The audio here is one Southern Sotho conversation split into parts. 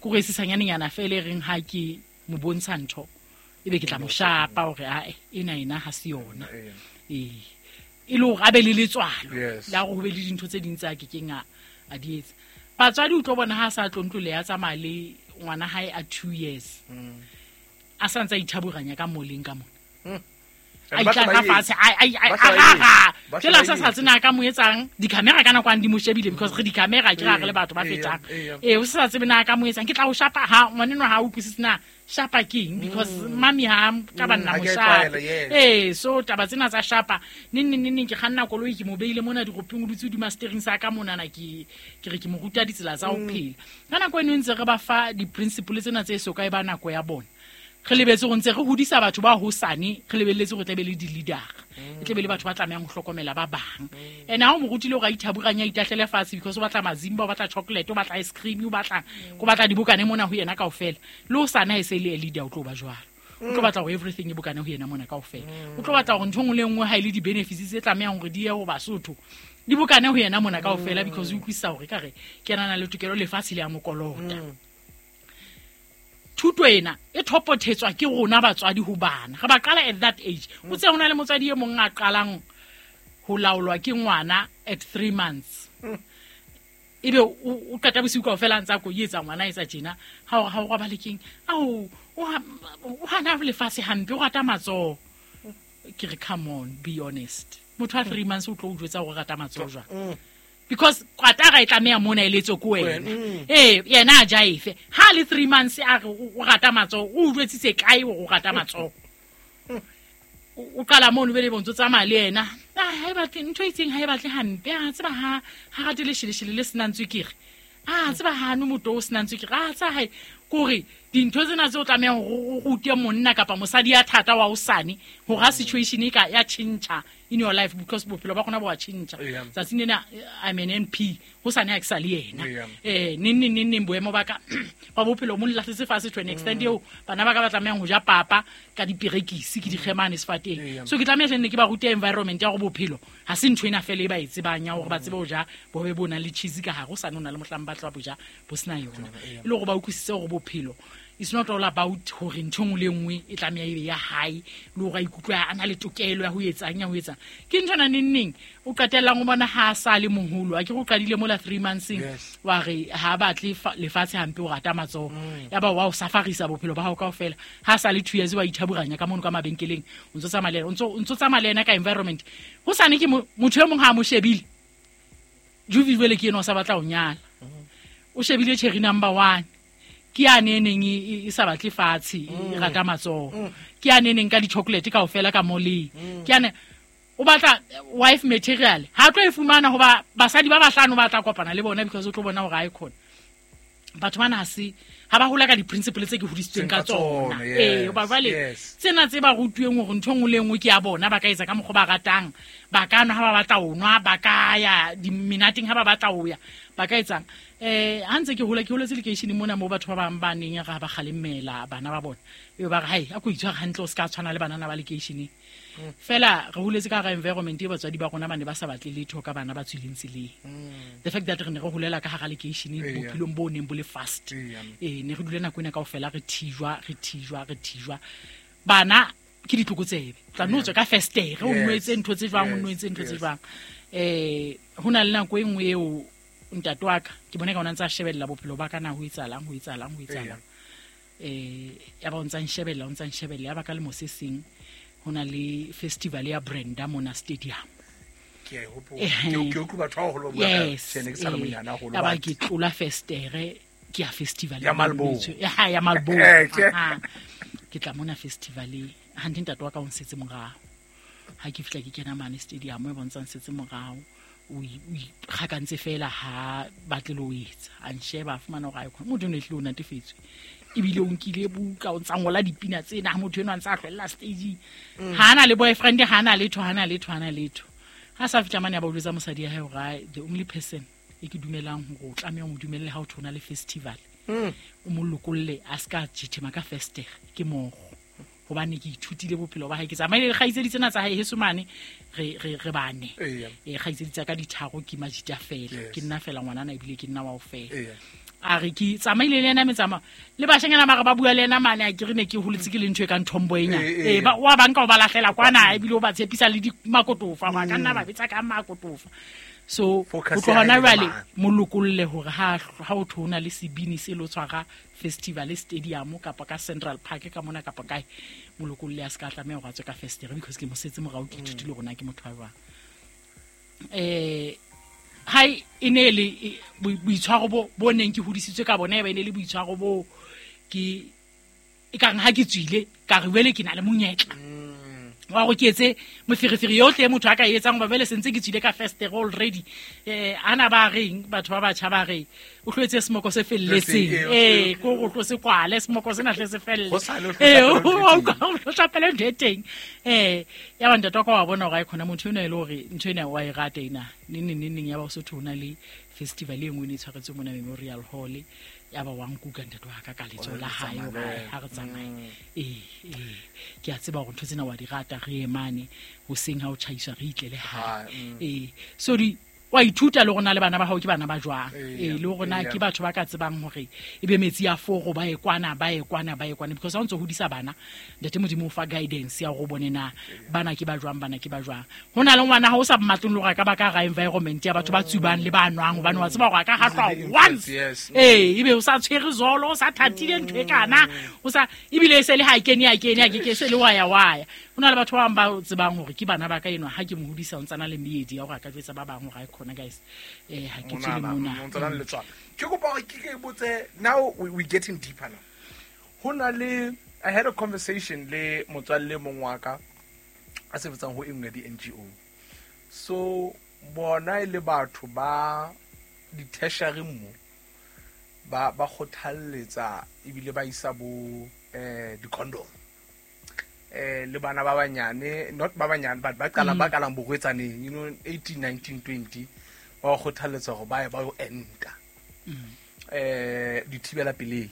Ke gore e sesanyanenyana fela e reng ha ke mo bontsha ntho ebe ke tla mo shapa hore ae ena ena ha se yona. Ee, e le hore a be le letswalo la hore ho be le dintho tse ding tse a kekeng a di etsa. Batswadi o tlo bona ha a sa tlo ntlo le ya tsamaya le ngwana hae a 2 years. A sa ntse a ithaburanya ka moleng ka mona. A itla fatshe a tsela sa sa tsena ka mo etsang di-camera ka nako a di mo shebile because re di-camera ke ra re le batho ba fetang. O sa tsebe na ka mo etsang ke tla o shapa ha ngwaneno ha o utlwisise na shapa keng because mami ha ka ba nna mo shapa. So taba tsena tsa shapa neng neng neng ke kganna koloi ke mo beile mona diropeng o dutse hodima steering sa ka monana ke re ke mo ruta ditsela tsa ho phela. Ka nako eno ntse re ba fa di-principle tsena tse so ka e ba nako ya bona. Re lebetse go ntse re hodisa batho ba hosane, re lebelletse go tlebe le di-leader. E tlebe le batho ba tlamehang ho hlokomela ba bang. And ha o mo rutile hore a ithaburanya, a itahlele fatshe because o batla mazimba, o batla chocolate, o batla ice cream, o batla ko batla dibokane mona ho yena kaofela. Le hosane ha e se le a leader o tlo ba jwalo. O tlo batla hore everything e bokane ho yena mona kaofela. O tlo batla hore ntho e nngwe le nngwe ha e le di-benefits tse tlamehang hore di ye ho Basotho, di bokane ho yena mona kaofela because o utlwisisa hore ekare ke yena a nang le tokelo lefatshe le ya mokolota. Thuto ena e thopothetswa ke rona batswadi ho bana. Re ba qala at that age. O tse hona le motswadi e mong a qalang ho laolwa ke ngwana at 3 months. Ebe o qeta bosiu kaofela a ntse a koietsa ngwana a etsa tjena. Ha o ha o robale keng? Ao, o hana lefatshe hampe, o rata matsoho. Ke re come on, be honest. Motho a 3 months o tlo o jwetsa hore o rata matsoho jwang? Because kwatara e tlameha mona e letswe ko wena. Yena a ja efe. Ha le 3 months a re o rata matsoho, o jwetsitse kae hore o rata matsoho? O qala mono be le bontso tsamaya le yena. Ha e batle ntho e itseng, ha e batle hampe. A tseba ha rate lesheleshele le senang tswekere. A tseba ha no motho o senang tswekere. A tseba hae kore dintho tsena tse o tlamehang hore o rute monna kapa mosadi ya thata wa hosane hore ha situation e ka ya tjhentjha in your life because bophelo ba rona bo a tjhentjha. Tsatsing lena I'm an MP, hosane ha ke sa le yena. Neng neng neng neng boemo ba ka ba bophelo mo lahletse fatshe to an extent eo bana ba ka ba tlamehang ho ja papa ka diperekisi ke dikgemane sefateng. So ke tlameha hle nne ke ba rute environment ya hore bophelo ha se ntho ena fela e ba e tsebang ya hore ba tsebe ho ja bohobe bo nang le cheese ka hare, hosane ho na le mohlang ba tla bo ja bo sena yona. E le hore ba utlwisise hore bophelo it's not all about hore ntho e nngwe le e nngwe e tlameha ebe ya hae, le hore a ikutlwe a na le tokelo ya ho etsang, ya ho etsang. Ke ntho ena neng neng o qetellang o bona ha a sa le moholo, a ke re o qadile mola 3 months-eng, wa re ha a batle lefatshe hampe, o rata matsoho. Ya ba wa o safarisa bophelo ba hao kaofela. Ha a sa le 2 years wa ithaburanya ka mono ka mabenkeleng, o ntso tsamaya le yena, o ntso tsamaya le yena ka environment. Hosane ke motho e mong ha a mo shebile, Juvi jwale ke ena o sa batla ho nyala. O shebile cherry number 1. Ke ya ne neng e sa batle fatshe, e rata matsoho. Ke ya ne neng ka di-chocolate kaofela ka moleng. Ke ya ne o batla wife material. Ha tlo e fumana hoba basadi ba bahlano ba tla kopana le bona because o tlo bona hore ha e khona. Batho bana ha se ha ba hola ka di-principle tse ke hodisitsweng ka tsona. Hoba jwale tsena tse ba rutuweng hore ntho e nngwe le e nngwe ke ya bona, ba ka etsa ka mokgwa ba ratang, ba ka nwa ha ba batla ho nwa, ba ka ya dimenateng ha ba batla ho ya, ba ka etsang. Ha ntse ke hola, ke holetse lekeisheneng mona moo batho ba bang ba neng ra ba kgalemela bana ba bona. Ebe ba re, hai, a ko itshware hantle, o se ka tshwana le banana ba lekeisheneng. Fela re holetse ka hara environment e batswadi ba rona ba ne ba sa batle letho ka bana ba tswileng tseleng. The fact that re ne re holela ka hara lekeishene bophelong bo neng bo le fast. Ne re dule nako ena kaofela re thijwa, re thijwa, re thijwa. Bana ke ditlokotsebe. Tla no tswe ka festere, o nwetse ntho tse jwang, o nwetse ntho tse jwang. Ho na le nako e nngwe eo ntate wa ka, ke bone ka ona ntse a shebella bophelo ba ka na ho etsahalang, ho etsahalang, ho etsahalang. Ya ba o ntsa nshebella, o ntsa nshebella, ya ba ka lemo se seng ho na le festival ya Brenda mona stadium. Ke a e hopola. Ke utlwa batho ba baholo ba bua ka tjhe, ne ke sa le monyane haholo, Ya ba but ke tlola festere, ke ya festival Ya ya Malboro. Malboro. Ya, ha, ya Malboro. Tjhe. Aha. Ke tla mona festivaleng. Hanthe ntate wa ka o nsetse morao. Ha ke fihla ke kena mane stadium e bontshang setse morao. O ikgakantse fela ha batle le ho etsa. A nsheba, a fumana hore ha e khona. Motho enwa ehlile o natefetswe. Ebile o nkile buka, o ntsa ngola dipina tsena, ha motho enwa a ntsa a hlwella stageng. Ha ana le boyfriend, ha ana letho, ha ana letho, ha ana letho. Ha sa fihla mane a ba o jwetsa mosadi ya hae hore, ai, the only person e ke dumelang hore o tlameha ho mo dumelle ha o thona le festival. O mo lokolle a ska jithema ka festere ke moro. Hobane ke ithutile bophelo ba hae, ke tsamaile le kgaitsedi tsena tsa hae heso mane, re bane. Kgaitsedi tsa ka di tharo ke majita fela. Ke nna fela ngwanana ebile ke nna wa ho fela. A re ke tsamaile le ena metsamao le bashanyana ba re ba bua le ena mane a ke re ne ke holetse ke le ntho e kang tomboy nya. Eh, eh. Ee, ba wa banka o ba lahlela kwana ebile o ba tshepisa le di makotofa ba ka nna ba betsa ka makotofa. So Focus ho tloha ya hae hona le jwale mane. molokolle hore ha o thona le sebini se lo tshwara festival stadium kapa ka Central Park ka mona kapa kae molokolle a se ka tlameha hore a tswe ka festere because ke mo setse morao ke ithutile hore na ke motho wa jwang. Hai e ne le boitshwaro bo neng ke hodisitswe ka bona e ba e ne le boitshwaro bo ke e ka reng ha ke tswile ka re jwale ke na le monyetla wa go ke etse moferefere yohle e motho a ka e etsang hoba jwale sentse ke tswile ka festere already. Ana ba reng batho ba batjha ba re o tlo etse semoko se felletseng. Ko go tlo se kwale semoko sena hle se felle. Ho sale o tlo hlapela ntho e teng. O tlo hlapela ntho e teng. Ya ba ntate wa ka wa bona hore ha e khona motho enwa e le hore ntho ena wa e rata ena. Neng, neng, neng, neng, ya ba o se thwe ho na le festival e nngwe e ne e tshwaretswe mona Memorial Hall. Ya ba wa nkuka ntate wa ka ka letsoho la hae hore ha re tsamaye. Ke a tseba hore ntho tsena wa di rata, re emane hoseng ha o tjhaiswa re itlele hae. So di wa ithuta le rona le bana ba hao ke bana ba jwang. Le rona ke batho ba ka tsebang hore e be metsi a foro ba e kwana, ba e kwana, ba e kwana, because ha o ntso hodisa bana ntate Modimo o fa guidance ya hore o bone na bana ke ba jwang, bana ke ba jwang. Ho na le ngwana ha o sa mmatleng le hore a ka ba ka hara environment ya batho ba tsubang le ba nwang, hobane wa tseba hore a ka hahlwa Easily once. influenced, yes. Ebe o sa tshwere zolo, o sa thatile ntho e kana, o sa ebile e se le ha kene, ha kene, ha ke ke se le wa ya, wa ya. Ho na le batho ba bang ba tsebang hore ke bana ba ka enwa, ha ke mo hodisa o ntsana le meedi ya hore a ka jwetsa ba bang hore ha e khona, guys. Ha ke tswe le Mona, mona. o ntsana le letswalo. Ke kopa hore ke ke botse, now we getting deeper now. Ho na le, I had a conversation le motswalle mong wa ka a sebetsang ho e nngwe ya di-N G O. So bona e le batho ba di-tertiary mo ba kgothalletsa ebile ba isa bo di-condom. Le bana ba banyane, not ba banyane, but ba qalang, ba qalang borwetsaneng, 18, 19, 20, ba kgothalletsa hore ba ye ba yo enta. Dithibela pelei.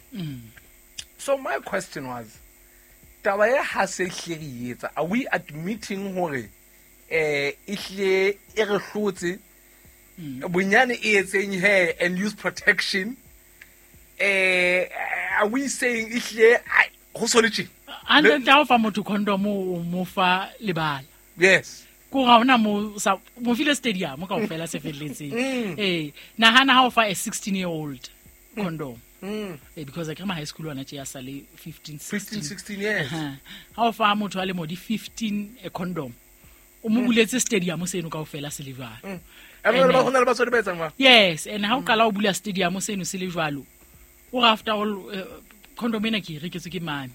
So my question was, taba e ha se hle re e etsa, are we admitting hore e hle e re hlotse? Bonyane e etseng he and use protection? Are we saying e hle, ai, ho so le tje? Hantle ntle ha o fa motho condom o mo fa lebala. Yes. Ko ga hona mo sa mo file stadium kaofela se felletseng. Nahana ha o fa a 16-year-old condom. Because akere ma high school ona tje ya sale 15, 15, 16. 16 years. Aha. Ha o fa motho a le modi 15 a condom. O mo buletse stadium seno kaofela se le jwalo. And And, ba hona le batswadi ba etsang jwang? Yes, and ha o qala o bula stadium seno se le jwalo. O re after all, condom ena ke e reketswe ke mame.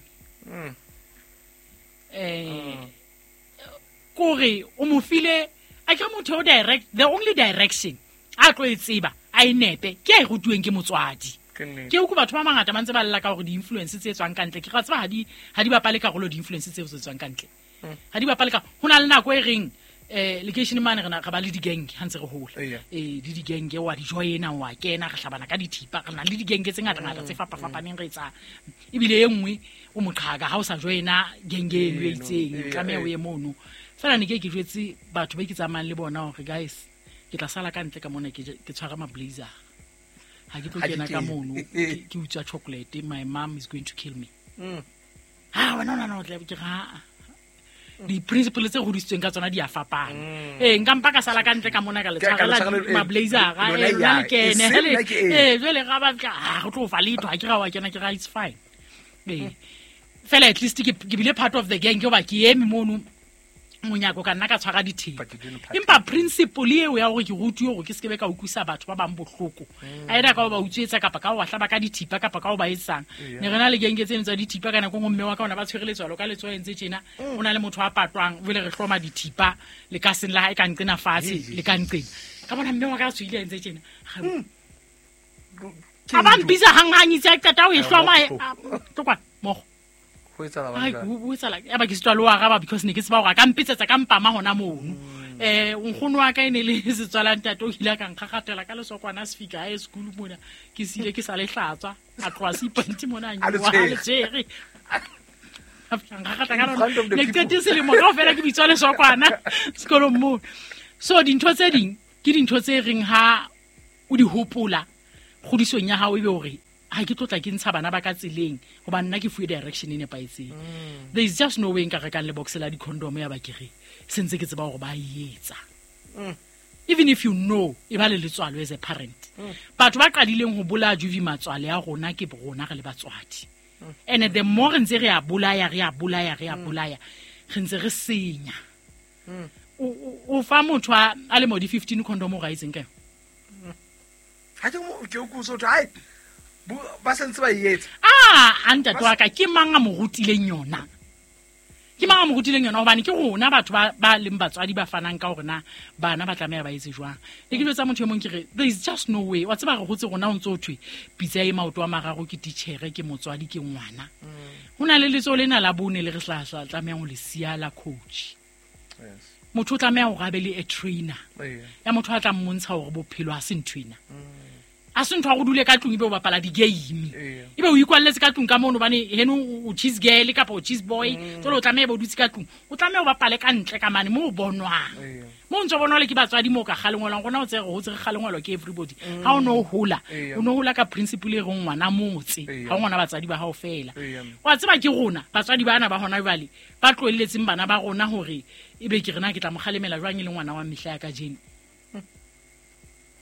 Kore o mo file, a ke motho o direct, the only direction a tlo e tseba, a e nepe, ke a e rutuweng ke motswadi. Ke nnete. Ke utlwe batho ba bangata ba ntse ba lla ka hore di-influence tse tswang ka ntle. Ke ra tseba ha di bapale karolo di-influence tseo tse tswang ka ntle. Ha di bapale ka, ho na le nako e reng, lekeisheneng mane re ba le di-gang ha ntse re hola. Le di-gang wa di joina, wa kena, re hlabana ka dithipa, re na le di-gang tse ngata-ngata tse fapafapaneng re etsang. Ebile e nngwe o moqhaka ha o sa joina gang eno e itseng, tlameha o ye mono. Feela ne ke ke jwetse batho ba ke tsamayang le bona hore guys, ke tla sala ka ntle ka mona ke tshwara ma-blazer. Ha ke tlo Ha ke kena ka kene. mono, ke utswa chocolate, my mom is going to kill me. Ha, wena o nahana hore ke re, ha, di-principle tse hodisitsweng ka tsona di a fapana. Nka mpa ka sala ka ntle ka mona ka le Ka- ka le tshwarela tshwarela, ma-blazera, lona lona ya, le kene, e seng hele, nna ke eng. jwale ra batla, ha, re tlo fa letho, ha ke ra wa kena, ke ra, it's fine. Fela at least ke bile part of the gang, ke hoba ke eme mono monyako ka nna ka tshwara dithepa. But you didn't part Empa principle eo ya hore ke rutuwe hore ke se ke be ka utlwisa batho ba bang bohloko. Either ka ho ba utswetsa kapa ka ho ba hlaba ka dithipa kapa ka ho ba etsang. Ne re na le genge tseno tsa dithipa ka nako e nngwe mme wa ka ona ba tshwere letswalo ka letsoho entse tjena. O na le motho a patwang, jwale re hloma dithipa le ka seng la hae ka nqena fatshe, le ka nqena. Ka bona mme wa ka a tshohile a entse tjena. Ke A ba ntho. mpitsa hanghang itse a qeta ho e hloma, Mokgo. tlo kwana, mokgo. Ho etsahala Ai, jwang? ho etsahala. Ya ba ke sitwa le ho araba because ne ke tseba hore a ka mpetsetsa ka mpama hona mono. Nkgono wa ka e ne le setswala ntate, o ile a ka nkgakgatela ka lesokwana a se fika hae school mona. Ke sile ke sa le hlatswa, a tloha seipante mona, a A le nyoha, a le tshwere. tshwere. A fihla a nkgakgatla ka In lona. front of the Ne ke people. qetetse selemo kaofela ke bitswa lesokwana sekolong moo. So dintho tse ding ke dintho tse reng ha o di hopola, Kgodisong ya hao ebe hore ha ke tlotla ke ntsha bana ba ka tseleng hobane nna ke fuwe direction e nepahetseng. There is just no way nka rekang lebox la di-condom ya ba ke re sentse ke tseba hore ba e etsa. Even if you know, e ba le letswalo as a parent. Batho ba qadileng ho bolaya juvi matswale a rona ke rona re le batswadi. And the more re ntse re a bolaya, re a bolaya, re a bolaya, re ntse re senya. O fa motho a le mo di 15 condom o ga itseng ka yona? Ha ke mo ke o so ai ba sentse ba etsa. Ah, a ntate wa ka ke mang a mo rutileng yona? Ke mang a mo rutileng yona hobane ke rona batho ba leng batswadi ba fanang ka hore na bana ba tlameha ba etse jwang. Le ke jwetsa motho e mong ke re there is just no way. Wa tseba re hotse rona o ntso thwe pitsa e maoto a mararo ke titjhere ke motswadi ke ngwana. Ho na le letsoho lena la bone le re tlamehang ho le siya la coach. Yes. Motho o tlameha hore a be le a trainer. Ya motho a tla mmontsha hore bophelo ha se ntho ena. A se ntho ya go dule ka tlung ebe o bapala di-game. Ebe o ikwalletse ka tlung ka mono hobane heno o cheese girl kapa o cheese boy. Jwale o tlameha ebe o dutse ka tlung. O tlameha o bapale ka ntle ka mane moo o bonwang. Moo o ntso bonwa le ke batswadi moo ka kgalengwelwang. Rona o tsere ho tsere kgalengwelwa ke everybody. Ha o no hola, o no hola ka principle e reng ngwana motse. Ha o ngwana batswadi ba hao fela. Wa tseba ke rona batswadi bana ba hona jwale ba tlohelletseng bana ba rona hore ebe ke rena ke tla mo kgalemela jwang e le ngwana wa mehla ya kajeno.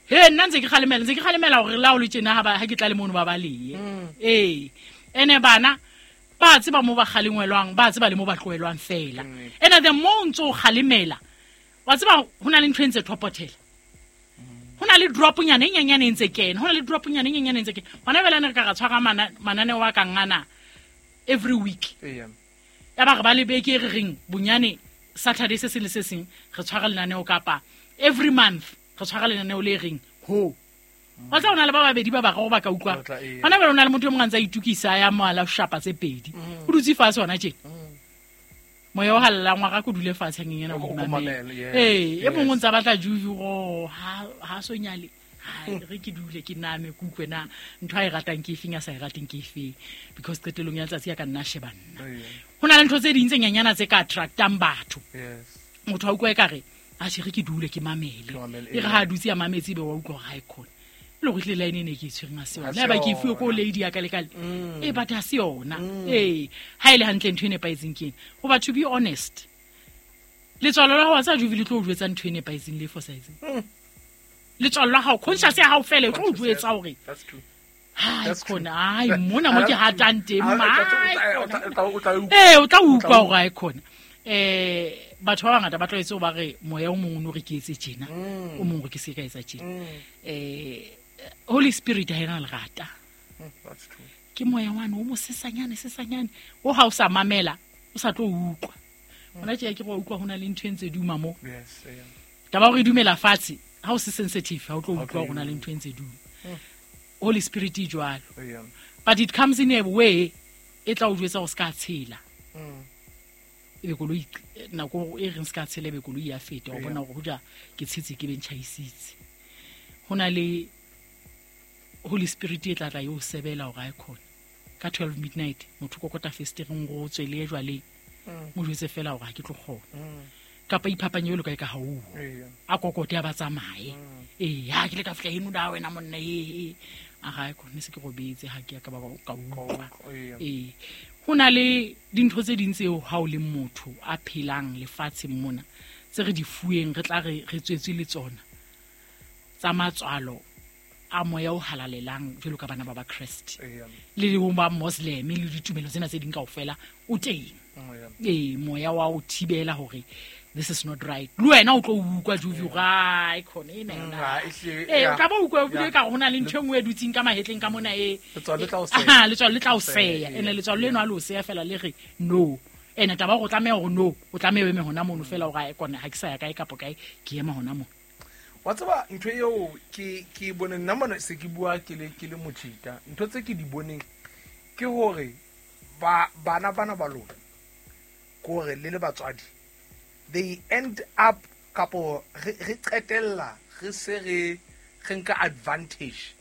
He nna ntse ke kgalemela, ntse ke kgalemela hore la o le tjena ha ke tla le mono ba balehe. Ee. Ene bana ba tseba mo ba kgalengwelwang, ba tseba le mo ba tlohellwang fela. Ene the more o ntso o kgalemela, wa tseba ho na le ntho e ntse thopothela. Ho na le droponyana e nyenyane e ntse kena, ho na le droponyana e nyenyane e ntse kena. Hona jwale ne re ka ra tshwara mananeo a kang ana every week. Ya ba re ba le beke e re reng bonyane Saturday se seng le se seng re tshwara lenaneo kapa every month re tshwara lenaneo le reng ho. Wa tla o na le ba babedi ba bararo ba ka utlwa. Ba tla, ee. Hona jwale o na le motho e mong a ntse a itukisa ya moala ho shapa tse pedi. O dutse fatshe hona tjena. Moya o halalelang wa ka ko dule fatshe hanyenyana O o ko mamele. mamele, yes, Ee, e mong o yes. ntse a batla juju go ha so nyale. Ha re ke dule ke name ke utlwe na ntho a e ratang ke efeng a sa e rateng ke efeng, because qetellong ya letsatsi ya ka nna sheba nna. Ho na le ntho tse ding tse nyenyana tse ka attractang batho. Motho a utlwa ekare a tjhe, re ke dule ke mamele. Ke mamele, E re ha a dutse a mametse ebe wa utlwa hore ha e khone. Le hore ehlile line e ne ke e tshwereng ha se yona. Ha se Le haeba ke e fuwe ko yona. lady ya ka le ka le. But ha se yona. Ha e le hantle ntho e nepahetseng ke ena. Hoba to be honest, letswalo la hao wa tseba Juvi le tlo o jwetsa ntho e nepahetseng le e fosahetseng. Letswalo la hao, conscious ya hao fela e tlo o Conscious, jwetsa yes. hore That's true. Hai, That's true. khona, hai, mona mo ke That's true. hatang teng, Ah, hai, o tla, khona. o tla, o tla, o tla utlwa. Ee, o tla O tla utlwa utlwa. hore hai, khona. Batho ba bangata ba tlwaetse ho ba re moya o mong o no re ke etse tjena, o mong re ke se ka etsa tjena. Holy Spirit ha ena lerata. That's true. Ke moya wane o mosesanyane, sesanyane. O ha o sa mamela, o sa tlo utlwa. Hona tje ke go utlwa ho na le ntho e ntse duma mo. Yes, yeah. Taba hore e dumela fatshe, ha o se sensitive, ha o tlo Ha o utlwa tlo hore ho na le utlwa. ntho e ntse duma. Holy Spirit e jwalo. Yeah. But it comes in a way e tla o jwetsa hore se ka tshela. Ebe koloi nako e reng se ka tshela ebe koloi ya feta, wa bona hore hoja ke tshetse ke be ntjhaisitse. Ho na le Holy Spirit e tla tla eo sebela hore a e khona. Ka 12 midnight motho kokota festereng go tswele jwale. Mo jwetse fela hore ha ke tlo kgona. Kapa iphapanye jwalo ka e ka ha o. A kokote a ba tsamaye. Ee, ha ke le ka fihla heno da wena monna, ee, ee. A ga e khone se ke robetse, ha ke ya ka ba ka utlwa. Ee. Ho na le dintho tse ding tseo ha o le motho a phelang lefatsheng mona, tse re di fuweng, re tla re tswetswe le tsona. Tsa matswalo a moya o halalelang jwalo ka bana ba ba Kreste. Le ho ba Muslim le ditumelo tsena tse ding kaofela o teng. Ee, moya wa o thibela hore this is not right. Le wena o tlo utlwa Juvi hore, ai, khona ena yona. Ee, o tla ba utlwa ebile ka hore ho na le ntho e nngwe e dutseng ka mahetleng ka mona e. Letswalo le tla o seya. Aha, letswalo le tla o Seya, seya. ee. Ene letswalo leno ha le o seya fela le re no. Ene taba hore o tlameha hore no, o tlameha o eme hona mono fela hore ae kona ha ke sa ya kae kapa kae, ke ema hona mono. Wa tseba ntho eo ke e boneng, nna mona se ke bua ke le motjhita. Ntho tse ke di boneng ke hore bana bana ba lona, ke hore le le batswadi, they end up kapo re qetella re se re nka advantage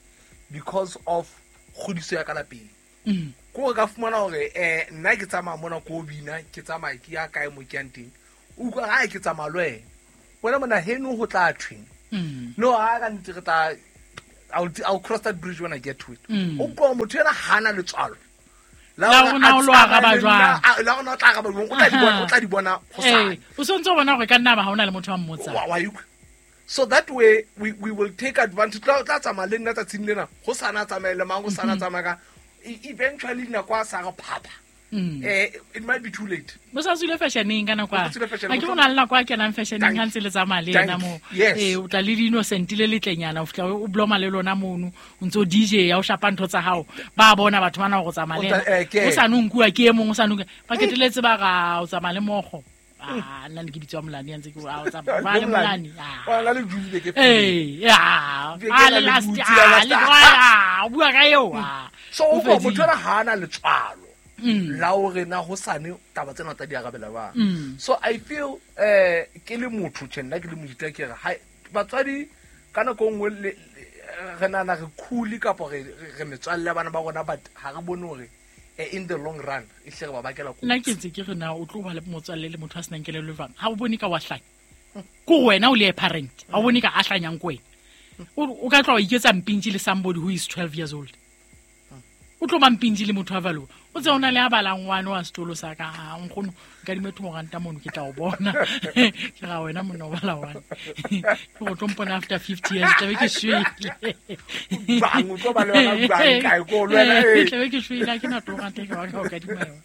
because of kgodiso ya ka lapeng. Ke hore ka fumana hore, nna ke tsamaya mona ko bina, ke tsamaya ke ya kae mo ke yang teng. O utlwa ha ke tsamaya le wena. Wena mona heno ho tla thweng. No, ha ka nnete re tla, I'll cross that bridge when I get to it. O utlwa motho ena hana letswalo. La rona o lo araba jwang? La rona o tla araba jwang? O tla di bona hosane. O sontso bona hore ka nna ba ha ona le motho a mmotsang. Wa utlwa? So that way we will take advantage. Tla tsamaya le nna tsatsing lena. Ho sana tsamaye le mang, ho sana tsamaya ka. Eventually nako a sa re phapha. It might be too late. Bo sa tswile fashioneng ka nako a. Ha ke bona le nako a kenang fashioneng ha ntse le tsamaya le yena moo. O tla le di-innocent le letlenyana, o fihla o bloma le lona mono, o ntso DJ ya o shapa ntho tsa hao. Ba bona batho bana hore o tsamaya le yena. O sa no nkuwa ke e mong, o sa no nkuwa. Ba keteletse ba ra o tsamaya le mokgo. Nna ne ke bitswa Molane ya ntse ke o tsamaya ba le Molane. Wa la le jule ke. Le last le o bua ka eo. So o motho ena ha ana letswalo. La hore na hosane taba tsena tsa di arabela ba. So I feel ke le motho tjhe nna ke le mojita ke re ha batswadi ka nako nngwe re nana re cool kapa re metswalle ya bana ba rona, but ha re bone hore in the long run e hle re ba bakela kotsi. Nna ke ntse ke re na o tlo ba le motswalle le motho a senang kelello jwang? Ha o bone ka wa hlanya. Ko wena o le a parent, ha o bone ka a hlanyang ko wena. O ka tla wa iketsa mpintji le somebody who is 12 years old. O tlo ba mpintji le motho a valo. O tse ona le a balang ngwana wa sekolo sa ka, ha nkgono nka dime 2 ranta mono ke tla o bona. Ke ra wena monna o bala one. Ke go tlo mpona after 50 years tlabe ke shwele. Bang o tlo ba le wena bang kae ko le wena. Tlabe ke shwele ha ke na 2 ranta ke ba ka o kadima yona.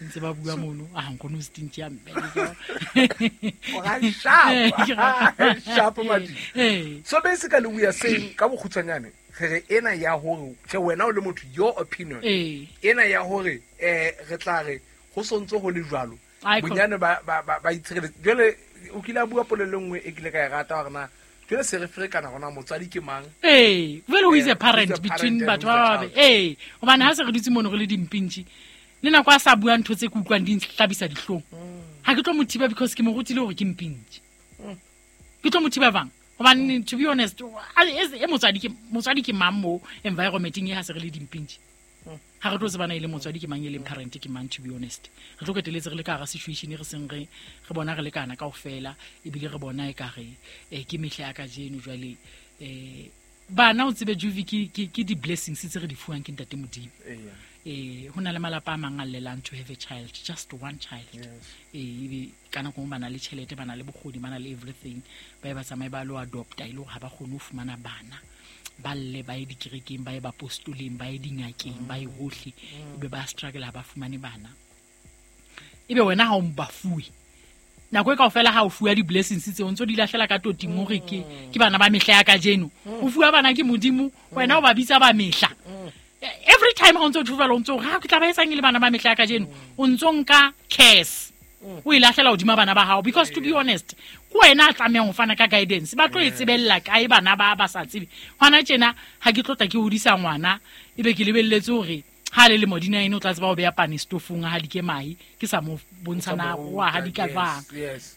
Ntse ba bua mono, a nkgono o stinti ya mme. O ga sharp. Sharp madi. So basically we are saying ka bokgutshwanyane re ena ya hore tjhe wena o le motho, your opinion ena ya hore re tla re ho sontso ho le jwalo bonyane ba itshireletse. Jwale o kile a bua polelo nngwe e kile ka e rata hore na jwale se re ferekana hona motswadi ke mang. Well, who is a parent between batho ba ba hobane ha se re dutse mono re le dimpintji le nako a sa bua ntho tse ke utlwang di nhlabisa dihlong. Ha ke tlo mo thiba because ke mo rutile hore ke mpintji. Ke tlo mo thiba bang? Hobane to be honest, e motswadi ke mang mo environmenteng e ha se re le dimpintji. Ha re tlo tsebana e le motswadi ke mang e leng parent ke mang, to be honest. Re tlo keteletse re le ka hara situation re seng re bona re lekana kaofela, ebile re bona e ka re ke mehla ya kajeno jwale. Bana o tsebe Juvi ke di blessings tse re di fuwang ke Ntate Modimo. Ho na le malapa a mang a llelang to have a child, just one child. Ebe ka nako ba na le tjhelete, ba na le bokgoni, ba na le everything, ba ba tsamaye ba lo adopta e le hore ha ba kgone ho fumana bana. Ba lle ba ye dikerekeng, ba ye bapostoleng, ba ye dingakeng, ba ye hohle, ebe ba struggle ha ba fumane bana. Ebe wena ha o ba fuwe nako e kaofela ha o fuwa di-blessings tseo ntso di lahlela ka toting hore ke bana ba mehla ya kajeno. O fuwa bana ke Modimo, wena o ba bitsa ba mehla. Every time ha o ntso tjhuvela o ntso ha ke tla ba etsang le bana ba mehla ya kajeno, o ntso nka curse o e lahlela hodima bana ba hao. Because to be honest, ke wena a tlamehang ho fana ka guidance. Ba tlo e tsebella kae bana ba sa tsebe? Hona tjena ha ke tlo tla ke hodisa ngwana ebe ke lebelletse hore ha le lemo di 9 o tla tseba ho beha pane stofong ha di ke mahe, ke sa mo bontsha na wa ha di ka jwang.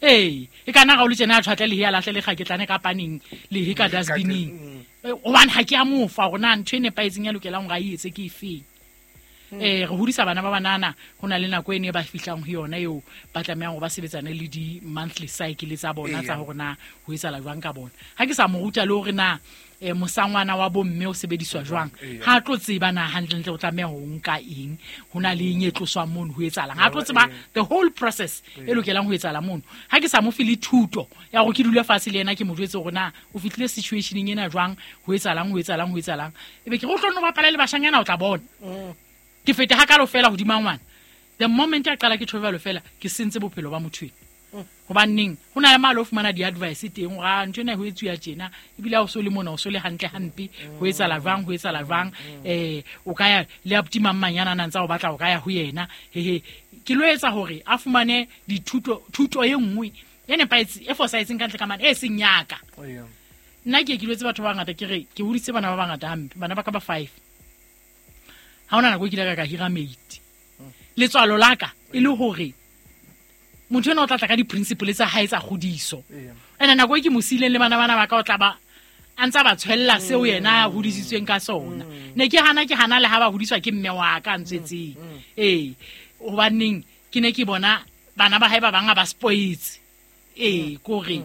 E kana ga o le tjena a tshwatle le ya lahle le kgaketlane ka paneng le he ka dustbining. Hobane ha ke a mo fa hore na ntho e nepahetseng ya lokelang hore a etse ke efeng. Re hodisa bana ba banana, ho na le nako e ne ba fihlang ho yona eo ba tlamehang hore ba sebetsane le di-monthly cycle tsa bona tsa hore na ho etsahala jwang ka bona. Ha ke sa mo ruta le hore na mosangwana wa bomme o sebediswa jwang, ha tlo tseba na hantlentle o tlameha ho nka eng, ho na le eng e tloswang mono, ho etsahalang. Ha tlo tseba the whole process e lokelang ho etsahala mono. Ha ke sa mo fe le thuto ya hore ke dule fatshe le yena ke mo jwetse hore na o fihlile situationeng ena jwang, ho etsahalang, ho etsahalang, ho etsahalang. Ebe ke re o tlo nno bapala le bashanyana o tla bona. Ke fete hakalo fela hodima ngwana. The moment a qala ke tjhovelo fela, ke sentse bophelo ba motho ena. Hobaneng ho na le malo o fumana di-advice teng hore a ntho ena ho etsuwa tjena, ebile ha o so le mona o so le hantle hampe, ho etsahala jwang, ho etsahala jwang. O ka ya le abuti mang manyana a ntsa o batla o ka ya ho yena. Hehe, ke lo etsa hore a fumane dithuto, thuto e nngwe e nepahetseng, e fosahetseng ka ntle ka mane, e seng yaka. Nna ke ke lwetse batho ba bangata ke re ke hodisitse bana ba bangata hampe, bana ba ka ba 5. Ha hona nako e kile ka hira mate. Letswalo la ka e le hore motho ena o tla tla ka di-principle tsa hae tsa kgodiso. Ene nako e ke mo siileng le bana ba ka o tla ba a ntsa ba tshwella seo yena a hodisitsweng ka sona. Ne ke hana le ha ba hodiswa ke mme wa ka a ntswetseng. Hobaneng ke ne ke bona bana ba hae ba bang a ba spoetse. Ee, kore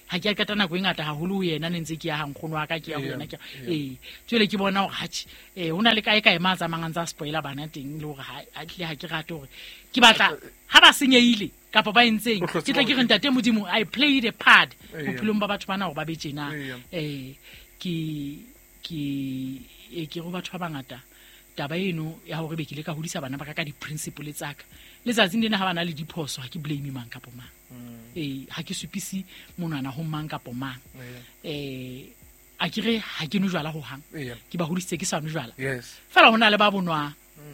ha ke a qeta nako e ngata haholo ho yena, ne ntse ke ya ha nkgono wa ka, ke ya ho yena, ke ee. Jwale ke bona hore hatjhe, ho na le kae kae ma tsamayang a ntsa spoiler bana teng, le hore ha tlile ha ke rate hore ke batla ha ba senyehile kapa ba entseng, O hlotse ke tla ke re hore- ntate Modimo, I played a part Eya. bophelong ba batho bana hore ba be tjena. Eya. Ke go batho ba bangata taba eno ya hore be ke ile ka hodisa bana ba ka ka di-principle tsa ka. Letsatsing lena ha ba na le diphoso, ha ke blame mang kapo mang. Ha ke supise monwana ho mang kapo mang. A ke re ha ke nwe jwala hohang. Eya. Ke ba hodisitse ke sa nwe jwala. Yes. Fela ho na le ba bonwang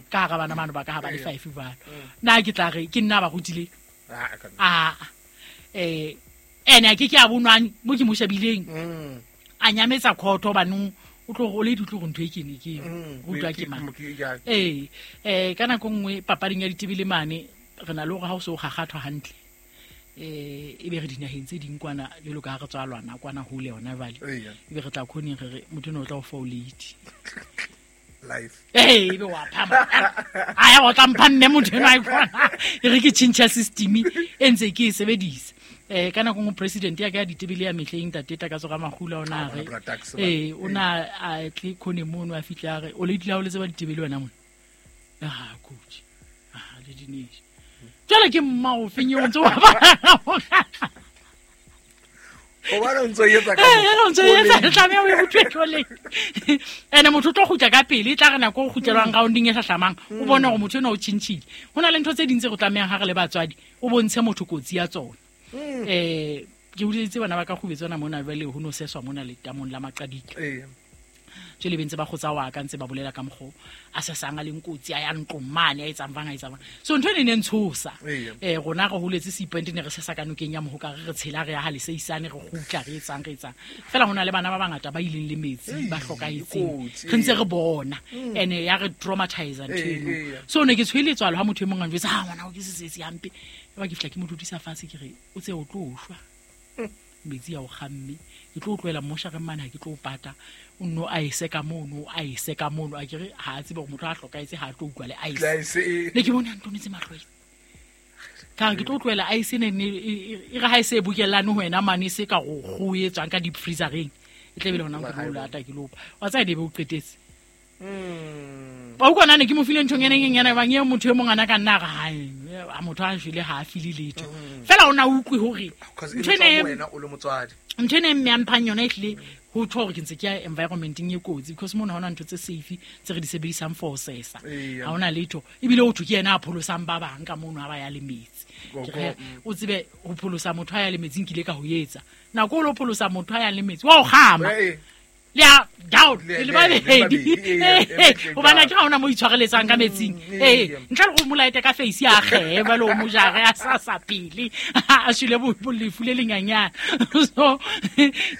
ka hara bana bano ba ka ha ba le Eya. five jwalo. Nna ke tla re ke nna ba rutileng. Ah, ka nna. Aa, ene a ke ke a bonwang mo ke mo shebileng. A nyametsa khotho hobane o tlo o le di tlo go ntho e ke ne ke rutwa ke mang. Ee, ka nako nngwe papading ya ditebele mane re na le hore ha o se o kgakgathwa hantle, e be re dinaheng tse ding kwana jwalo ka ha re tswa lwana kwana hole yona jwale. Eya. E be re tla khoneng re re motho eno o tla o fa o late. Life. Ee, ebe wa phama. A ya o tla mpha mme motho enwa a kwana. E re ke tjhentjha system e ntse ke e sebedisa. Ka nako nngwe president ya ka ya ditebele ya mehleng ntate Takatso Ramahula o na Ah, re, bona bra Tax, ba. o na a tle khone mono a fihle a re, o late la o le tseba ditebele wena mona. Ah, coach. Ah, le dinesh. Jwale ke mma o feng eo o ntse o bapala? Hobane o ntso e etsa ka Ee, o ntso e etsa, koleng. tlameha o e utlwe koleng. Ene motho o tlo kgutla ka pele, e tla re nako o kgutlelwang rounding e hlahlamang, o bone hore motho enwa o tjhentjhile. Ho na le ntho tse ding tse re tlamehang ha re le batswadi, o bontshe motho kotsi ya tsona. Ke hodisitse bana ba ka kgubetswana mona jwale ho no seswa mona letamong la Maqadika. Ee. Jwale be ntse ba kgotsa wa ka ntse ba bolela ka mokgo a sesang a leng kotsi, a ya ntlong mane, a etsang bang, a etsang bang. So ntho ene e ne ntshosa. Eya. Rona re holetse Seipente, ne re sesa ka nokeng ya Mohoka, re re tshela re ya ha leseisane, re kgutla, re etsang, re etsang. Fela ho na le bana ba bangata ba ileng le metsi, Ei, ba hlokahetseng. kotsi, Re ntse eya. re bona. Ene ya re traumatize ntho Ee, eno. eya. So ne ke tshwele letswalo ha motho e mong a njwetsa, ha ngwana o ke sesesi hampe. Eba ke fihla ke mo dudisa fatshe ke re, o tse o tlo shwa. Metsi a o kgamme. Ke tlo o tlohela moshareng mane, ha ke tlo o pata. O nno a ese ka mono, a ese ka mono. A ke re ha a tsebe hore motho ha a hlokahetse ha a tlo utlwa le ice. Le ice, ee. Ne ke bone a ntonetse mahlo a Ka re ke tlo tlohela ice ne ne e re ha e se e bokellane ho wena mane, e se ka go kgoho e tswang ka deep freezereng. E tla be le hona ke tlo o lata, ke lo opa. Wa tseba e be o qetetse. Ba utlwa nna ne ke mo file nthong e neng e nyana, ebang eo motho e mong ana ka nna a re, hai, a motho a shwele ha a file letho. Fela o na utlwe hore Because e ntho tswa ena ho e wena o le motswadi. ntho ena e mme a mphang yona e hlile ho tjho hore ke ntse ke ya environmenteng e kotsi, because mona ha hona ntho tse safe tse re di sebedisang for ho sesa. Eya. Ha hona letho. Ebile ho thwe ke yena a pholosang ba bang ka mono ha ba ya le metsi. Go, Ke re, go, o tsebe ho pholosa motho ha ya le metsing ke ile ka ho etsa. Nako o lo pholosa motho ha ya le metsi, wa o kgama. Ee. Le ya down, Le- le le- le le babedi. babedi, ee, Ee, ee, hobane ha ke ha hona mo itshwareletsang ka metsing. Ee. Ee, ntle le go mo laete ka face a kgehe, jwale o mo jare a sa sa pele. A shwele lefu le lenyanyana. So,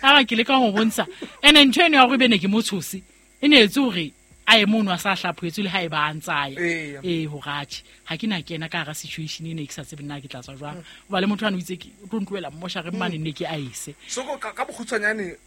ha ba ke leka ho bontsha. Ene ntho eno ya hore ebe ne ke mo tshose, e ne etse hore a ye mono a sa hlaphohetswe le ha eba a ntsa ya. Eya. Ee, hore atjhe, ha ke na kena ka hara situation ena e ke sa tsebe na ke tla tswa jwang. Hoba le motho ane o itse ke, o tlo ntlohela mmoshareng mane ne ke a ese. So ka bokgutshwanyane,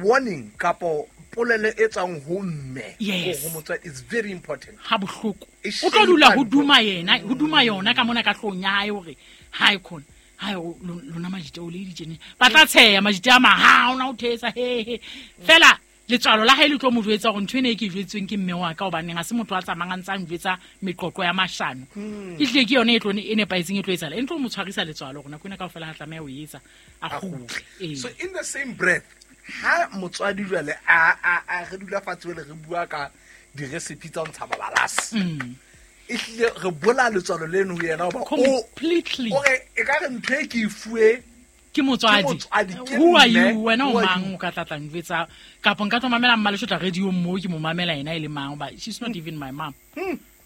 warning kapo polelo e tswang ho mme, Yes. ho motswadi is very important. Ha bohloko. E O tlo dula ho shape duma yena, ho duma yona ka mona ka hloohong ya hae hore ha e khona. Ha o lona majite o le ditjene. Ba tla tsheya majite a mang, ha ona o thetsa he he. Fela letswalo la hae le tlo mo jwetsa hore ntho ena e ke e jwetsweng ke mme wa ka, hobaneng ha se motho a tsamayang a ntsa njwetsa meqoqo ya mashano. Ehlile ke yona e tlo e nepahetseng e tlo etsahala. E ntlo mo tshwarisa letswalo hore nako ena kaofela ha tlameha ho e etsa, a A kgutle. kgutle. Ee. So in the same breath, ha motswadi jwale a re dula fatshe jwale re bua ka di-recipe tsa ho ntsha mabalasi. Ehlile re bolaya letswalo leno ho yena hoba Completely. o re e ka re ntho e ke e fuwe Ke motswadi. Ke motswadi, ke Who are mme. you? Wena o Who are mang you? o ka tla tla njwetsa? Kapa nka tlo mamela Mmaleshotla radio mo ke mo mamela yena e le mang? Hoba she's not even my mom.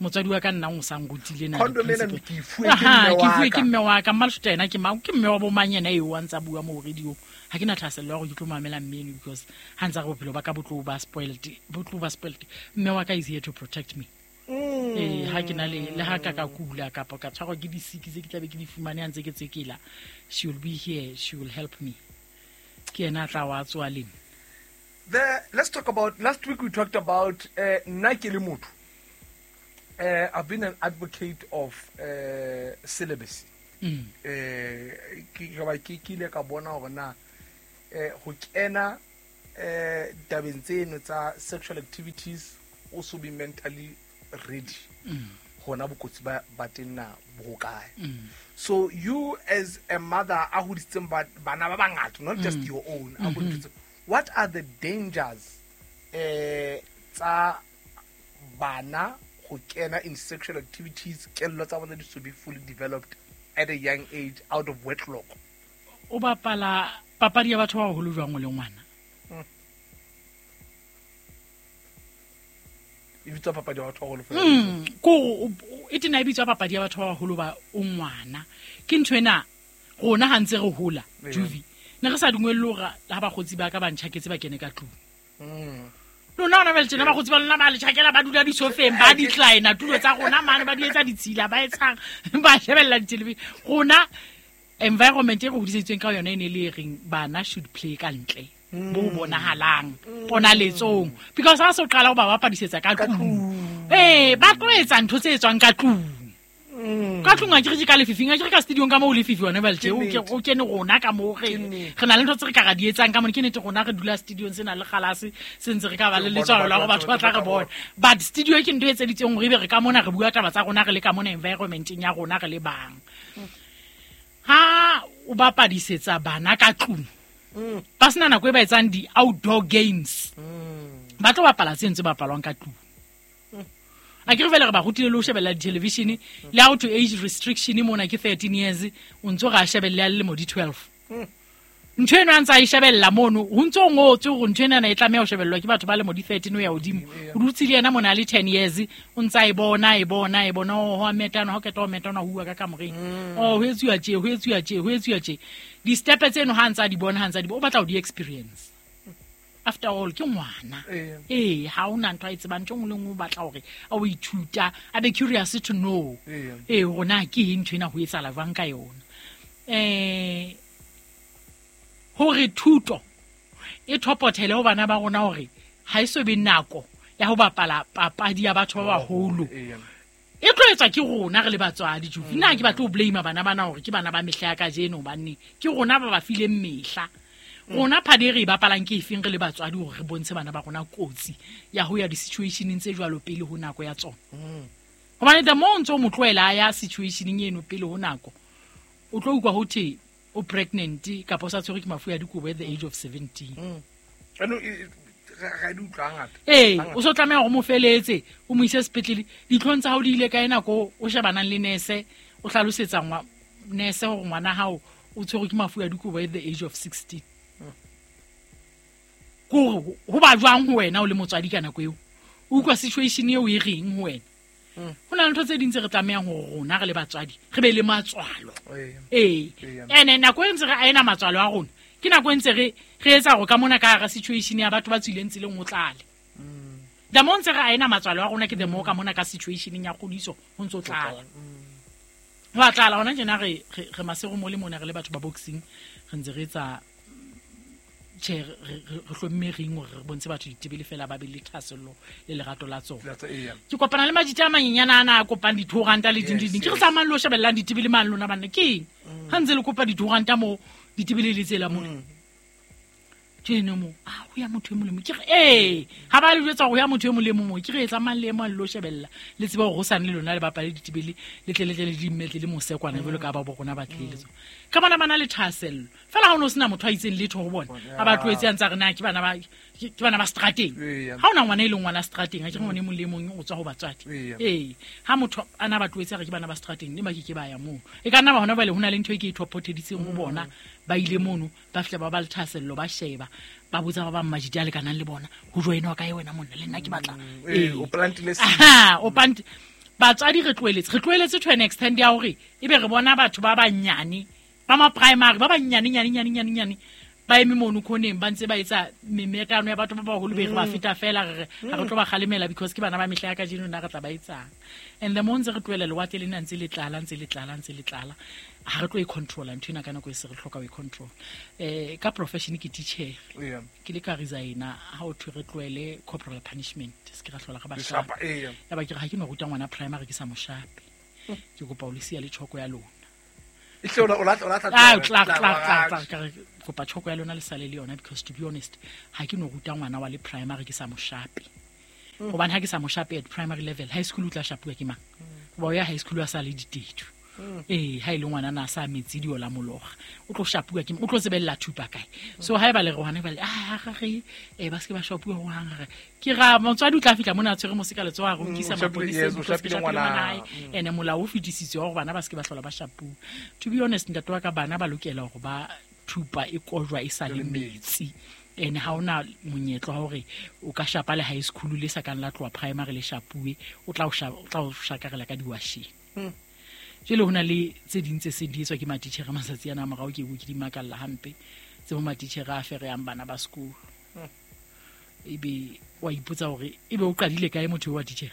Motswadi wa ka nna o sa nrutile na Condom ena di-principle. ke e fuwe ke Aha, mme ke wa fuwe ka. ke mme wa ka. Mmaleshotla yena ke mang? Ke mme wa bo mang yena eo a ntsa bua mo radio? Ha ke na thahasello ya hore ke tlo mamela mme eno because ha ntsa re bophelo ba ka bo tlo ba spoiled, bo tlo ba spoiled. Mme wa ka is here to protect me. Ee, ha ke na le ha ka ka kula kapa ka tshwarwa ke disiki tse ke tlabe ke di fumane ha ntse ke tsekela, she will be here, she will help me. Ke yena a tla wa tsoa le nna. Let's talk about, last week we talked about, nna ke le motho. I've been an advocate of celibacy. Ke ke ile ka bona hore na ho kena tabeng tseno tsa sexual activities o so be mentally ready. Hona bokotsi ba teng na bo kae. So you as a mother a hodisitseng bana ba bangata, not just your own, what are the dangers tsa bana ho kena in sexual activities kello tsa bona di so be fully developed at a young age out of wedlock? O bapala papadi ya batho ba baholo jwang o le ngwana? E bitswa papadi ya batho ba baholo. Ko e tena e bitswa papadi ya batho ba baholo ba o ngwana. Ke ntho ena rona ha ntse re hola, Juvi. Ne re sa dungwelle hore ha bakgotsi ba ka ba ntjhaketse ba kene ka tlung. Lona hona jwale tjena bakgotsi ba lona ba le tjhakela ba dula disofeng, ba decline tulo tsa rona mane, ba di etsa ditshila, ba etsang, ba shebella di-television. Rona environment e re hodiseditsweng ka yona e ne le e reng bana should play ka ntle. Bo bonahalang ponaletsong, because ha se o qala ho ba bapadisetsa ka tlung, ba tlo etsa ntho tse etswang ka tlung. Ka tlung a ke re ke ka lefifing, a ke re ka studio-ong ka moo lefifi hona jwale tje, o kene rona ka moo re na le ntho tse re ka ra di etsang ka mona. Ke nnete rona re dula studio-ong se na le kgalase, se ntse re ka ba le letswalo la hore batho ba tla re bona, but studio ke ntho e etseditsweng hore ebe re ka mona re bua taba tsa rona, re le ka mona environment-eng ya rona re le bang. Ha o bapadisetsa bana ka tlung, ba sena nako e ba etsang di-outdoor games, ba tlo bapala tse ntse bapalwang ka tlung. A ke re fela re ba rutile le ho shebella di-television, le how to age restriction mona ke 13 years, o ntso re a shebelle a le lemo di 12. Ntho eno a ntse a e shebella mono, ho ntso ngotswe hore ntho ena e tlameha ho shebellwa ke batho ba lemo di 13 ho ya hodimo. O dutse le yena mona a le 10 years, o ntse a e bona, e bona, e bona, oh, ho a metana, ha o qeta ho metana, ho uwa ka kamoreng. Oh, ho etsuwa tje, ho etsuwa tje, ho etsuwa tje. Di-step tseno ha ntse a di bona, ha ntse a di bona, o batla ho di experience. After all, ke ngwana. Ha hona ntho a e tsebang, ntho e nngwe le nngwe o batla hore a o ithuta, a be curious to know. Hore na ke eng ntho ena ho etsahala jwang ka yona. Hore thuto e thopothele ho bana ba rona hore ha e so be nako ya ho bapala papadi ya batho ba baholo. E tlo etswa ke rona re le batswadi, Juvi. Nna ha ke batle ho blame bana bana hore ke bana ba mehla ya kajeno, hobane ke rona ba ba fileng mehla. Rona phadi e re e bapalang ke efeng re le batswadi hore re bontshe bana ba rona kotsi ya ho ya di-situationeng tse jwalo pele ho nako ya tsona. Hobane the more o ntso o mo tlohela a ya situationeng eno pele ho nako, o tlo utlwa ho thwe o pregnant kapa o sa tshwerwe ke mafu a dikobo at the age of 17. Ano, ga di utlwa hangata. O so tlameha hore o mo feletse, o mo ise sepetlele. Ditlhong tsa hao di ile kae nako o shebanang le nurse, o hlalosetsa nurse hore ngwana hao o tshwerwe ke mafu a dikobo at the age of 16. Kore ho ba jwang ho wena o le motswadi ka nako eo? O utlwa situation eo e reng ho wena? Ho na le ntho tse ding tse re tlamehang hore rona re le batswadi re be le matswalo. Ene nako e ntse re aena matswalo a rona, ke nako e ntse re etsa hore ka mona ka hara situation ya batho ba tswileng tseleng ho tlale. The more ntse re aena matswalo a rona, ke the more ka mona ka situation ya kgodiso ho ntso tlala. Ho a tlala hona tjena re masego mo le mona re le batho ba boxing, re ntse re etsa tjhe, re hlomme ring hore re bontshe batho ditebele fela ba be le thahasello le lerato la tsona. Ke kopana le majita a manyenyana ana a kopang di-two ranta le ding, ding. Ke re tsamayang le ho shebellang ditebele mane lona banna, ke eng? Ha ntse le kopa di-two ranta moo, ditebele le tsela mona. Tjeno mo, ho ya motho e molemo. Ke re, ha ba le jwetsa hore ho ya motho e molemo moo, ke re tsamayang le ema le lo shebella. Le tsebe hore hosane le lona le bapale ditebele, le tle le tle le di mmetle le mosekwana jwalo ka ba bo rona ba tlile le tsona. Ka bona ba na le thahasello. Fela ha o no sena motho a itseng letho ho bona, a ba tlohetse a ntse a re na ke bana ba, ke bana ba strateng. Ha ona ngwana e leng ngwana strateng, ha ke re ngwana e mong le e mong o tswa ho batswadi. Ha motho a na ba tlohetse a re ke bana ba strateng, ne ba ke ke ba ya moo. E ka nna ba hona jwale ho na le ntho e ke e thopotheditseng ho bona, ba ile mono, ba fihla ba ba le thahasello, ba sheba, ba botsa ba bang majiti a lekanang le bona, ho joinwa kae wena monna, le nna ke batla. O plantile seed. Aha, o plant-, batswadi re tlohelletse, re tlohelletse to an extent ya hore ebe re bona batho ba banyane, ba ma primary, ba banyane, nyane, nyane, nyane, nyane, ba eme mono khoneng, ba ntse ba etsa memetano ya batho ba baholo be re ba feta fela, re re, ha re tlo ba kgalemela because ke bana ba mehla ya kajeno, nna re tla ba etsang. And the more ntse re tlohela lewatle lena ntse le tlala, ntse le tlala, ntse le tlala, ha re tlo e controla ntho ena ka nako e se re hloka ho e control. Ka profession ke teacher. Ke le ka resigna ha o thwe re tlohele corporal punishment, se ke ra hlola re ba Leshapa, shapa. Ya ba ke re ha ke no ruta ngwana primary ke sa mo shape. Ke kopa o le siya le tjhoko ya lona. Kopa tjhoko ya lona le sale le yona, because to be honest ha ke no ruta ngwana wa le primary ke sa mo shape. Hobane ha ke sa mo shape at primary level, high school o tla shapuwa ke mang? Hoba o ya high school a sa le ditedu. Ha ile ngwana na sa metsi di ola mologa, o tlo shapuwa ke, o tlo tsebella thupa kae? So ha e ba le re hona ba le ga re ba se ba shapuwa ho hang re ke ra motswadi o tla fihla mona a tshwere moseka letsoho a re nkisa maponeseng, o shapile ngwana ene molao o fetisitswe hore bana ba se ke ba hlola ba shapuwa. To be honest, ntate wa ka, bana ba lokela hore ba thupa e kojwa e sa le metsi. Ene ha ona monyetla wa hore o ka shapa le high school le sa kang la tloha primary le shapuwe, o tla o shakarela ka diwasheng. Jwale ho na le tse ding tse seng di etswa ke matitjhere matsatsi ana a morao, ke ke di makalla hampe, tse bo matitjhere a fereyang bana ba sekolo. Ebe wa ipotsa hore ebe o qadile kae motho wa titjhere?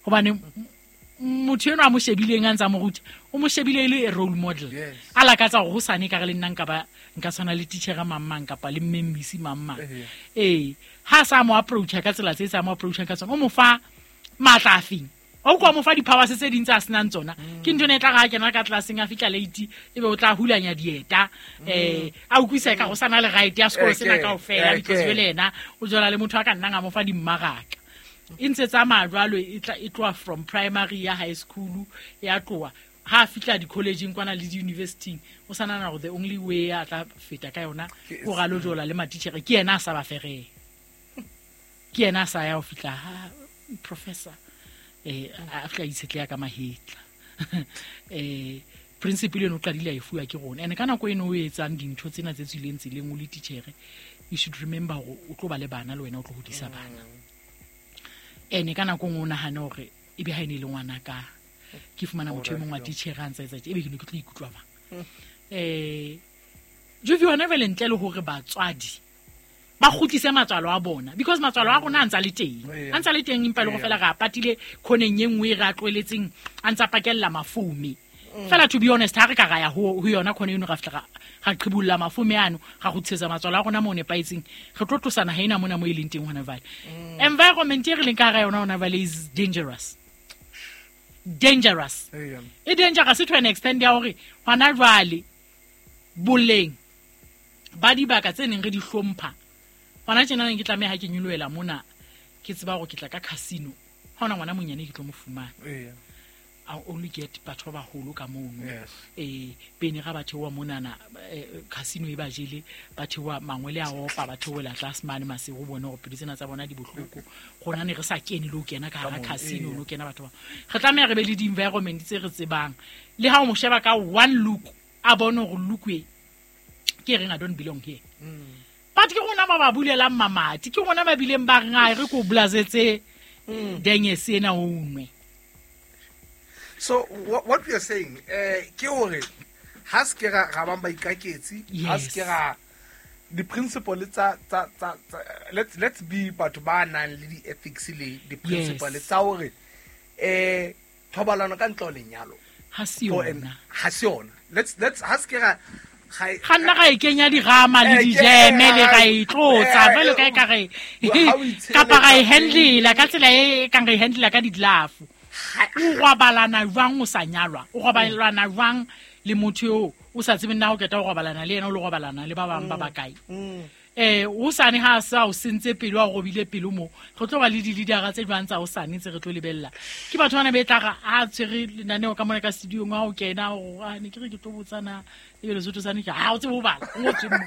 Hobane motho enwa a mo shebileng a ntsa mo ruta, o mo shebile e le a role model. A lakatsa hore hosane ka re le nna nka ba nka tshwana le titjhere mang mang kapa le mmemmisi mang mang. Ha sa mo approach ka tsela tse tsa mo approach ka tsona, o mo fa matla a feng? O kwa mo fa di-powers tse ding tse a senang tsona. Ke ntho ene e tla re ha kena ka tlelaseng a fihla late, ebe o tla hulanya dieta, a utlwisa ka go sana le right ya sekolo sena kaofela, because jwale yena o jola le motho a ka nnang a mo fa dimmaraka. E ntse tsamaya jwalo, e tla e tloha from primary ya high school, ya tloha ha a fihla di-collegeng kwana le di-universityng, o sa nahana hore the only way a tla feta ka yona ke hore a lo jola le matitjhere, ke yena a sa ba fereng, ke yena a sa ya ho fihla ha professor, a fihla a itshetleha ka mahetla. Principle eno o qadile a e fuwa ke rona. And ka nako eno o etsang dintho tsena tse tswileng tseleng o le titjhere, you should remember hore o tlo ba le bana le wena o tlo hodisa bana. Ene ka nako nngwe o nahane hore ebe ha e ne e le ngwana ka, ke fumana motho e mong wa titjhere a ntsa etsa tje, ebe ke ne ke tlo ikutlwa bang. Jovi, hona jwale ntle le hore batswadi ba kgutlise matswalo a bona, because matswalo a rona a ntsa le teng, a ntsa le teng, empa le go fela re a patile khoneng e nngwe e re a tlohelletseng, a ntsa pakella mafome. Fela to be honest, ha re ka ra ya ho yona khone eno, ra fihla ra qhibolla mafome ano, ra kgutlisetsa matswalo a rona mo nepahetseng, re tlo tlosana ha ena mona mo e leng teng hona jwale. Environment e re leng ka hara yona hona jwale is dangerous. Dangerous. E dangerous to an extent ya hore hona jwale boleng ba dibaka tse neng re di hlompha, hona tjena neng ke tlameha ha ke nyolohela mona, ke tseba hore ke tla ka casino, ha hona ngwana monyane ke tlo mo fumana. I only get batho ba baholo ka mono. Pene ga ba theoha monana, casino e ba jele, ba theoha mangwele a opa, ba theohela tlase mane masego, o bone hore pelo tsena tsa bona di bohloko. Rona ne re sa kene le ho kena ka hara casino, no kena batho ba. Re tlameha re be le di-environment tse re tsebang. Le ha o mo sheba ka one look, a bone hore look e ke reng, I don't belong here. But ke rona ba ba bulelang mamati, ke rona ba bileng ba reng, re ko blazetse denge sena o nwe. So what we are saying, ke hore ha se ke ra bang ba ikaketsi, ha se ke ra di principle tsa tsa tsa let's be batho ba nang le di ethics le di principle tsa hore thobalano ka ntle ho lenyalo ha se yona, ha se yona. Let's ha se ke ra ga nna ga e kenya dirama le dijeme le ga e tlotsa, jwalo ka e ka re kapa ga e handlela ka tsela e kang re handlela ka ditlafo. O robalana jwang o sa nyalwa? O robalana jwang le motho eo o sa tsebeng na o qeta ho robalana le yena, o lo robalana le ba bang ba bakae? O sane ha sa o sentse pelo, a robile pelo mo. Re tlo ba le di-leadera tse jwang tsa hosane tse re tlo lebella. Ke batho bana be tla re a tshwere lenaneo ka mona ka studio-ong, ha o kena, o re, ne ke re ke tlo botsana, ebe Lesotho sane ke, ha o tsebe ho bala, o ngotswe mo.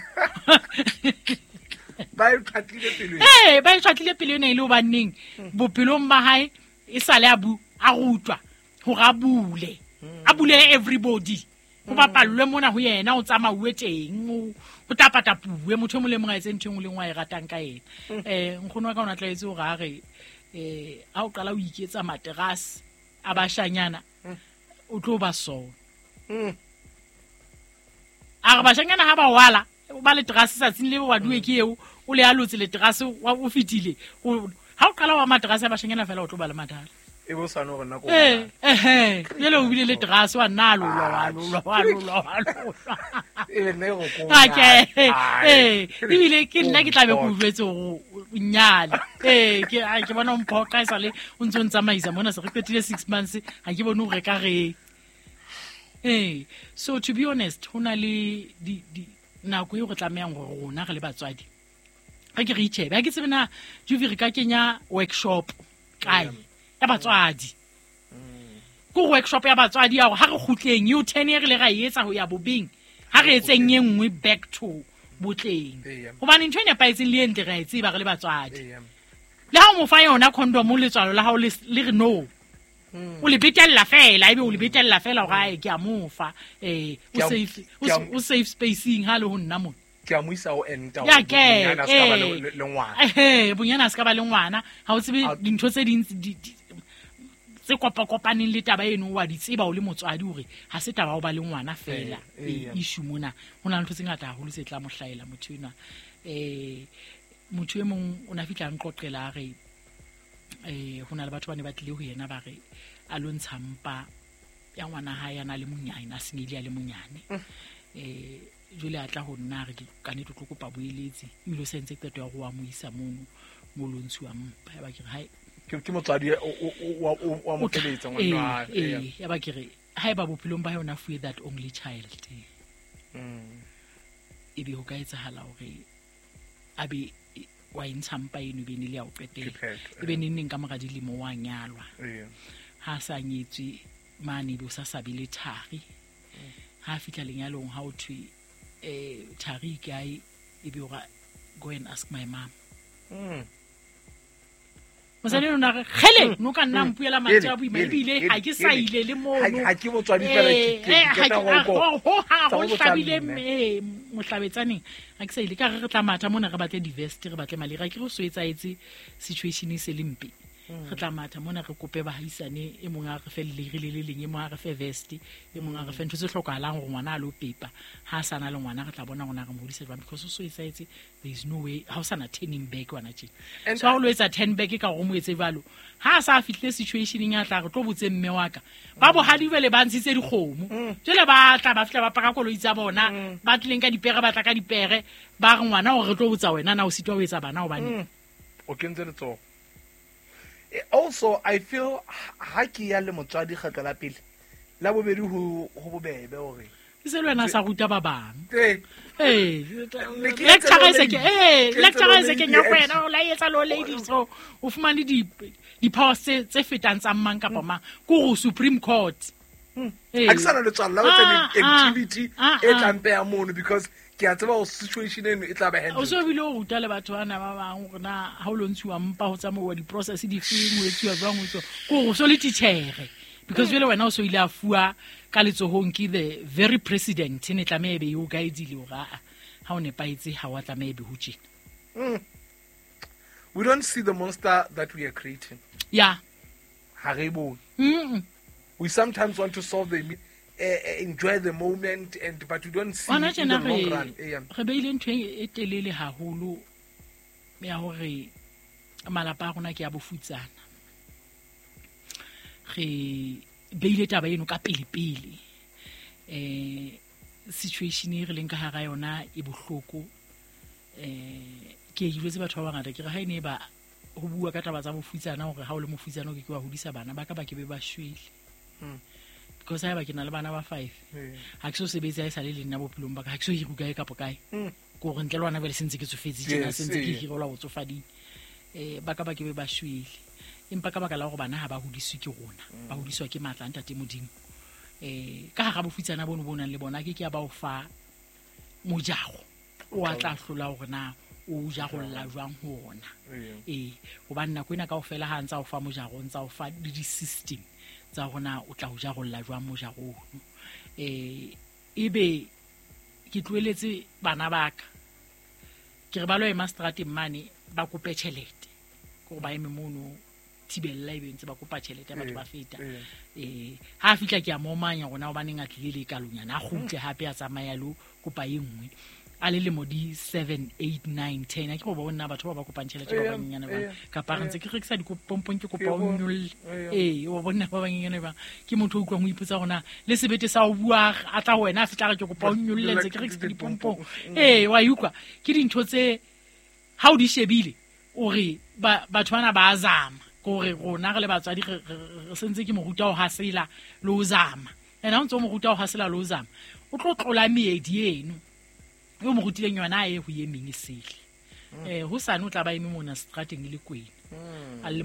Ba e tjhatlile pelo ena. Ba e tjhatlile pelo ena e le hobaneng bophelong ba hae e sale a bu, a rutwa hore a bule. A bule everybody. Ho bapallwe mona ho yena, o tsamauwe teng, o tapatapuwe, motho e mong le mong a etse ntho e nngwe le nngwe a e ratang ka yena. Nkgono wa ka o ne a tlwaetse hore a re, ha o qala o iketsa materase a bashanyana, o tlo ba sona. A re bashanyana ha ba wala, ba le terase tsatsing leo wa duwe ke eo, o le alotse le terase, wa o fetile. Ha o qala wa materase a bashanyana fela, o tlo ba le mathata. E bo sa no rona ko bona. Jwale o bile le terase, wa nna a lolwa, wa lolwa, wa lolwa, wa lolwa. E be nna e go ko Ake, nyale. Ebile ke nna ke tla be ke o jwetse hore o nyale. Ke bona o mphoqa esale o ntse o ntsamaisa mona, se re qetile 6 months, ha ke bone hore ka reng. Ee, so to be honest, ho na le nako eo re tlamehang hore rona re le batswadi re ke re itjhebe. Ha ke tsebe na Juvi re ka kenya workshop kae ya batswadi. Ke workshop ya batswadi ya hore ha re kgutleng eo 10 e re le ra e etsa ho ya bobeng, ha re etseng e nngwe back to botleng. Hobane ntho e nepahetseng le e ntle re a e tseba re le batswadi. Le ha o mo fa yona condom letswalo la hao le re no. O le betella fela, ebe o le betella fela hore ae ke a mo fa. O safe spacing ha le ho nna mona. Ke a mo isa ho enta ya ke bonyana se ka ba le ngwana. Bonyana se ka ba le ngwana. Ha o tsebe dintho tse ding tse kopakopaneng le taba eno wa di tseba o le motswadi hore ha se taba o ba le ngwana fela. Issue mona ho na le ntho tse ngata haholo tse tla mo hlahela motho enwa. Motho e mong o na fihla nqoqela a re ho na le batho ba ne ba tlile ho yena ba re a lo ntsha mpa ya ngwana hae a na le monyane, a senyehile a le monyane. Jwale a tla ho nna re ka nnete o tlo kopa boeletsi, ebile o sa entse qeto ya hore wa mo isa mono mo lo ntshuwang mpa. Ya ba ke re hae ke motswadi wa mo keletsa ngwana wa hae. Ya ba ke re haeba bophelong ba hae o na fuwe that only child, ebe ho ka etsahala hore a be wa e ntsha mpa eno ebe ne le ya ho qetela, ebe neng neng ka mora dilemo wa nyalwa. Ha a sa nyetswe mane ebe o sa sabe le thari. Ha a fihla lenyalong ha o thwe thari e kae, ebe o ra go and ask my mom. Mosadi o na re kgele no ka nna mpuela mantswe a boima ebile ha ke sa ile le mono. Ha ke motswadi fela ke qeta ho ha ho hlabile mohlabetsaneng ha ke sa ile ka re re tla matha mona re batle di-vest re batle malira ke re so etsaetse situation e se le mpe. Re tla matha mona re kope bahaisane e mong a re fe lere le le leng, e mong a re fe vest, e mong a re fe ntho tse hlokahalang hore ngwana a lo pepa. Ha a sa na le ngwana re tla bona rona re mo hodisa jwang, because so etsaetse there is no way ha o sa na turning back wena tjena. So ha o lo etsa turn back ka hore o mo etse jwalo, ha a sa fihlile situationeng ya tla re tlo botse mme wa ka. Ba bohadi jwale ba ntshitse dikgomo. Jwale ba tla ba fihla ba paka koloi tsa bona, ba tlileng ka dipere ba tla ka dipere, ba re ngwana hore re tlo botsa wena na o sitwa ho etsa bana hobane o kentse letsoho. Also, I feel ha ke ya le motswadi kgetlo la pele la bobedi ho bobebe hore ke se le wena sa ruta ba bang. Lecture se ke lecture se ke nya kwena o la etsa lo lady so o fumane di powers tse fetang tsa mang kapa mang ke go Supreme Court. Ha ke sana le tswalla o tsa activity e tlang peya mono because ke a tseba situation eno e tla ba handle. O so bile o ruta le batho bana ba bang hore na ha o lo ntshuwa mpa ho tsamauwa di-process di feng, ho etsuwa jwang, ho etsuwa ke hore o so le titjhere because jwale wena o so ile a fuwa ka letsohong ke the very president ne tlameha ebe o guide-ile hore ha o nepahetse ha wa tlameha ebe ho tjena. We don't see the monster that we are creating. Yeah. Ha re bone. We sometimes want to solve the enjoy the moment and but we don't see in the long run. Re beile ntho e telele haholo ya hore malapa a rona ke a bofutsana. Re beile taba eno ka pele pele. Situation e re leng ka hara yona e bohloko. Ke jwetse batho ba bangata ke re ha ene ba ho bua ka taba tsa bofutsana hore ha o le mofutsana o ke ke wa hodisa bana ba ka ba ke be ba shwele. Because ha ba ke na le bana ba 5. Ha ke so sebetse ha e sale le nna bophelong ba ka, ha ke so hiru kae kapa kae. Ke hore ntle le wena jwale sentse ke tsofetse tjena, sentse ke hirelwa botsofading. Ba ka ba ke be ba shwele. Empa ka baka la hore bana ha ba hodiswe ke rona, ba hodiswa ke matla a Ntate Modimo. Ka hara bofutsana bono bo nang le bona ke ke ya ba o fa mojago o a tla hlola hore na o jarolla jwang ho ona. Hobane nako ena kaofela ha ntsa o fa mojago, o ntsa o fa le di-system tsa rona o tla o jarolla jwang mojago ono. Ebe ke tlohelletse bana ba ka ke re ba lo ema strateng mane ba kope tjhelete, ke hore ba eme mono thibella ebe ntse ba kopa tjhelete batho ba feta. Ha fihla ke a momanya rona hobaneng a tlile le kalonyana a kgutle hape a tsamaya lo kopa e nngwe. A le lemo di 7 8 9 10 a ke go bona batho ba ba kopang tjhelete ba banyenyane ba kapa re ntse ke rekisa dikopompong ke kopa o nyolle. O bona ba banyenyane ba ke motho o utlwang o ipotsa rona le sebete sa o bua a tla ho wena a fihla re ke kopa o nyolle ntse ke rekisa dipompong. Wa utlwa ke dintho tse ha o di shebile o re batho bana ba zama ke hore rona re le batswadi re sentse ke mo ruta ho hasela le ho zama. And ha o ntse o mo ruta ho hasela le ho zama, o tlo tlola meedi eno e o mo rutileng yona, a ye ho ye meng e sele. Hosane o tla ba eme mona strateng e le kwena, a le